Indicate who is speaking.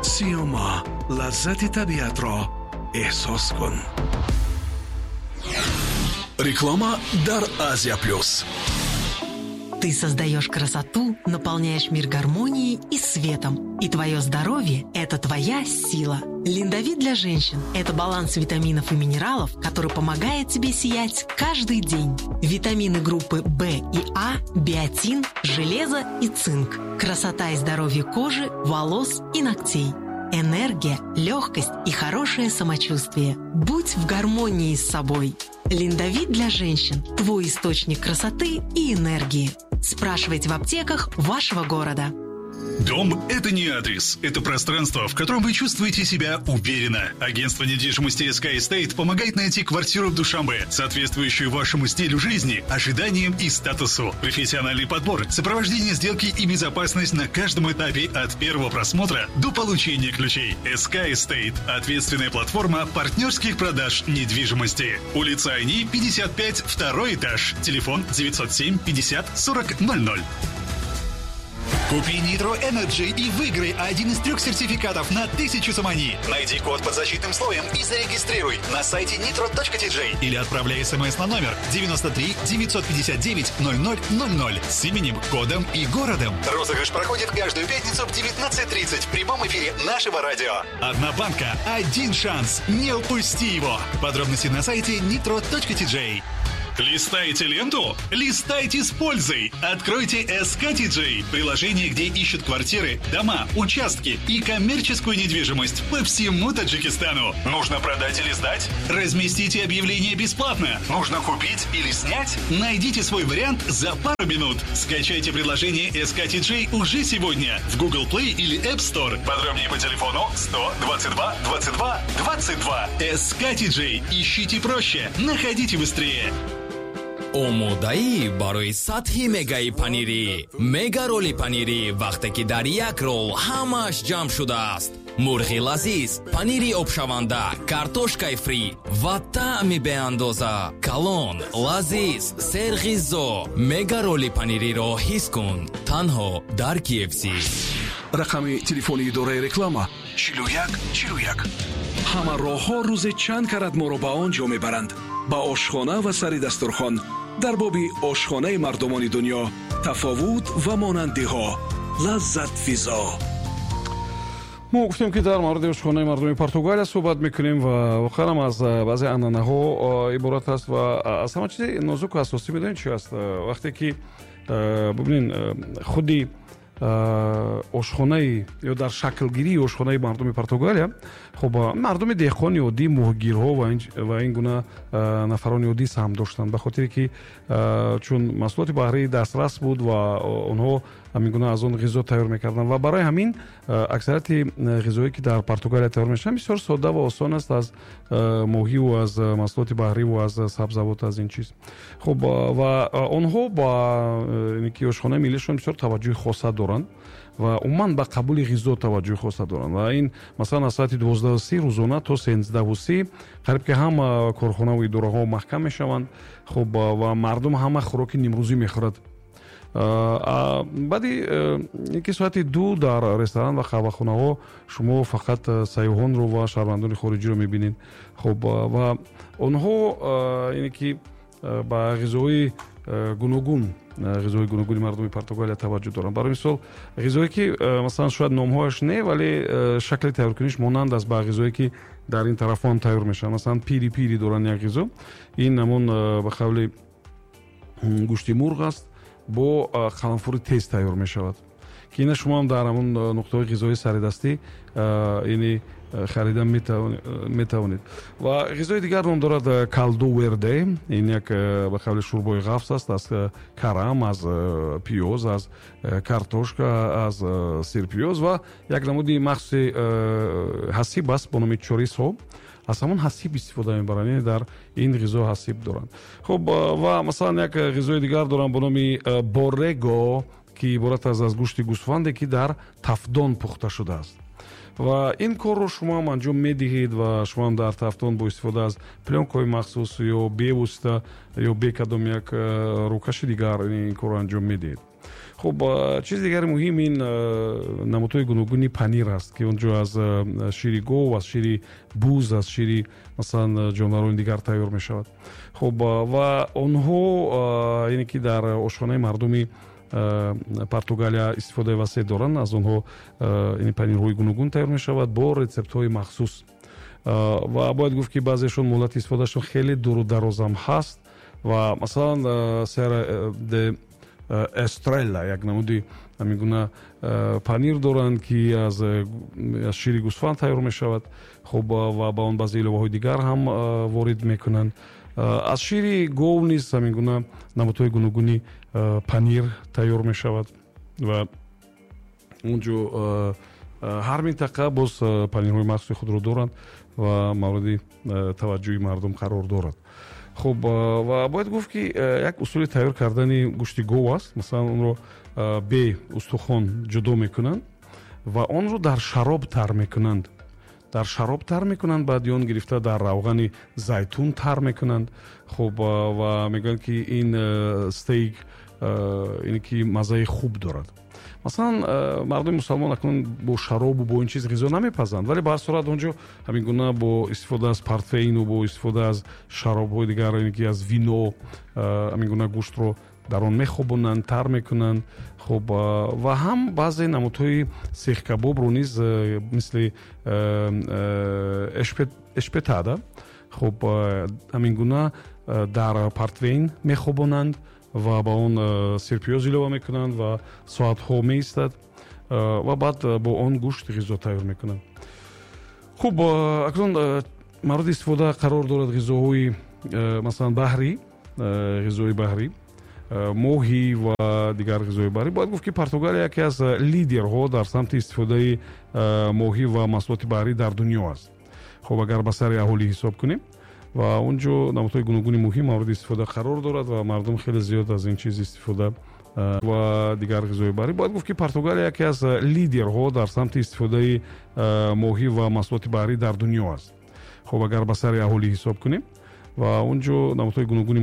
Speaker 1: Сиёма, лаззати табиатро эҳсос кун. Реклама дар Азия Плюс.
Speaker 2: Ты создаешь красоту, наполняешь мир гармонией и светом. И твое здоровье – это твоя сила. Линдовит для женщин – это баланс витаминов и минералов, который помогает тебе сиять каждый день. Витамины группы В и А, биотин, железо и цинк. Красота и здоровье кожи, волос и ногтей. Энергия, легкость и хорошее самочувствие. Будь в гармонии с собой. Линдовит для женщин – твой источник красоты и энергии. Спрашивайте в аптеках вашего города.
Speaker 3: Дом – это не адрес, это пространство, в котором вы чувствуете себя уверенно. Агентство недвижимости SK Estate помогает найти квартиру в Душанбе, соответствующую вашему стилю жизни, ожиданиям и статусу. Профессиональный подбор, сопровождение сделки и безопасность на каждом этапе от первого просмотра до получения ключей. SK Estate – ответственная платформа партнерских продаж недвижимости. Улица Айни, 55, второй этаж. Телефон 907 50 40 00. Купи Nitro Energy и выиграй один из трех сертификатов на 1000 сомони. Найди код под защитным слоем и зарегистрируй на сайте nitro.tj или отправляй смс на номер 93 959 0000 с именем, кодом и городом. Розыгрыш проходит каждую пятницу в 19:30 в прямом эфире нашего радио. Одна банка, один шанс. Не упусти его. Подробности на сайте nitro.tj. Листаете ленту? Листайте с пользой! Откройте SKTJ – приложение, где ищут квартиры, дома, участки и коммерческую недвижимость по всему Таджикистану. Нужно продать или сдать? Разместите объявление бесплатно. Нужно купить или снять? Найдите свой вариант за пару минут. Скачайте приложение SKTJ уже сегодня в Google Play или App Store. Подробнее по телефону 122 22 22. SKTJ. Ищите проще, находите быстрее.
Speaker 4: Омодаӣ барои сатҳи мегаи панирӣ, мега роли панирӣ, вақте ки дар як рол ҳамааш ҷамъ шудааст: мурғи лазиз, панири обшаванда, картошкаи фри ва таъми беандоза. Калон, лазиз, серғизо. Мега роли панириро ҳис кун танҳо дар KFC.
Speaker 1: Рақами телефони идораи реклама: 41 41. Ҳама роҳҳо рӯзе чанд карат моро ба он ҷо мебаранд, ба ошхона ва сари дастурхон. Дар боби ошхонаи мардумони дунё, тафовут ва монандиҳо, лаззатфизо.
Speaker 5: Мо гуфтем, ки дар мавриди ошхонаи мардуми Португалия суҳбат мекунем ва воқеан аз баъзе анъанаҳо иборат аст. Ва аз ҳама чизи нозуку асосӣ медонед чи аст? Вақте ки бубинед, худи ошхонаи ё дар шаклгирии ошхонаи мардуми Португалия, хуб, мардуми деҳқони оддӣ, моҳгирҳо ва ин гуна нафарони оддӣ саҳм доштанд, ба хотире ки чун маҳсулоти баҳрӣ дастрас буд ва онҳо ҳамин гуна аз он ғизо тайёр мекарданд. Ва барои ҳамин аксарияти ғизое, ки дар Португалия тайёр мешаванд, бисёр содда ва осон аст, аз моҳиву аз маҳсулоти баҳриву аз сабзавот, аз ин чиз. Хуб, ва онҳо ба ки ошхонаи миллишон бисёр таваҷҷӯҳи хоса доранд ва умуман ба қабули ғизо таваҷҷӯҳи хоса доранд. Ва ин, масалан, аз соати 12:30 рӯзона то 13:30 қариб ки ҳама корхонаву идораҳо маҳкам мешаванд. Хуб, ва мардум ҳама хӯроки нимрӯзӣ мехӯрад. Баъди ки соати 2 дар ресторан ва қаҳвахонаҳо шумо фақат сайёҳонро ва шаҳрвандони хориҷиро мебинед. Хуб, ва онҳо ине ки ба ғизоҳои гуногун, ғизои гуногуни мардуми Португалия таваҷҷӯҳ доранд. Барои мисол, ғизое ки, масалан, шояд номҳояш не, вале шакли тайёркуниш монанд аст ба ғизое, ки дар ин тарафҳо ҳам тайёр мешаванд. Масалан, пири пири доранд як ғизо. Ин ҳамон, ба қавли, гӯшти мурғ аст, бо қаламфури тез тайёр мешавад, ки ина шумо ҳам дар ҳамон нуқтаҳои ғизои саридастӣ ини харида метавонед. Ва ғизои дигар ном дорад калду верде. Ин як, ба қавли, шӯрбои ғафс аст, аз карам, аз пиёз, аз картошка, аз сирпиёз ва як намуди махсуси ҳасиб аст бо номи чорисо. Аз ҳамон ҳасиб истифода мебаранд, яъне дар ин ғизо ҳасиб доранд. Хуб, ва масалан, як ғизои дигар дорам бо номи борего, ки иборат аст аз гӯшти гӯсфанде, ки дар тафдон пухта шудааст. Ва ин корро шумо ҳам анҷом медиҳед ва шумо ҳам дар тафдон бо истифода аз плёнкаҳои махсус ё бевосита ё бе кадом як рӯкаши дигар ин корро анҷом медиҳед. Хуб, чизи дигари муҳим ин намудҳои гуногуни панир аст, ки он ҷо аз шири гов, аз шири буз, аз шири, масалан, ҷонварони дигар тайёр мешавад. Хуб, ва онҳо, яъне ки дар ошхонаи мардуми Португалия истифодаи васеъ доранд. Аз онҳо ин панирҳои гуногун тайёр мешавад бо рецептҳои махсус. Ва бояд гуфт, ки баъзеашон муҳлати истифодаашон хеле дуру дарозам ҳаст. Ва масалан, Серра да Эстрела як намуди ҳамин гуна панир доранд, ки аз шири гӯсфанд тайёр мешавад. Хуб, ва ба он баъзе иловаҳои дигар ҳам ворид мекунанд. Аз шири гов низ ҳамин гуна намудҳои гуногуни панир тайёр мешавад. Ва он ҷо ҳар минтақа боз панирҳои махсуси худро доранд ва мавриди таваҷҷӯҳи мардум қарор дорад. Хуб, ва бояд гуфт, ки як усули тайёр кардани гӯшти гов аст. Масалан, онро бе устухон ҷудо мекунанд ва онро дар шароб тар мекунанд, дар шароб тар мекунанд, баъди он гирифта дар равғани зайтун тар мекунанд. Хуб, ва мегӯянд, ки ин стейк ине ки маззаи хуб дорад. Масалан, мардуми мусалмон акнун бо шаробу бо ин чиз ғизо намепазанд, вале ба ҳар сурат он ҷо ҳамин гуна бо истифода аз портвейну бо истифода аз шаробҳои дигар, ине ки аз вино, ҳамин гуна гӯштро дар он мехобонанд, тар мекунанд. Хуб, ва ҳам баъзе намудҳои сехкабобро низ, мисли эшпетада, хуб, ҳамин гуна дар портвейн мехобонанд ва ба он сирпиёз илова мекунанд ва соатҳо меистад ва баъд бо он гӯшт ғизо тайёр мекунанд. Хуб, акнун мавриди истифода қарор дорад ғизоҳои, масалан, баҳрӣ, ғизои баҳрӣ, моҳӣ ва дигар ғизои баҳрӣ. Бояд гуфт, ки Португалия яке аз лидерҳо дар самти истифодаи моҳӣ ва маҳсулоти баҳрӣ дар дунё аст. Хуб, агар ба сари аҳолӣ ҳисоб кунем, ва он ҷо намудҳои гуногуни моҳӣ мавриди истифода қарор дорад ва мардум хеле зиёд аз ин чиз истифода ва дигар ғизои баҳрӣ. Бояд гуфт, ки Португалия яке аз лидерҳо дар самти истифодаи моҳӣ ва маҳсулоти баҳрӣ дар дунё аст. Хуб, агар ба сари аҳолӣ ҳисоб кунем, ва он ҷо намудҳои гуногуни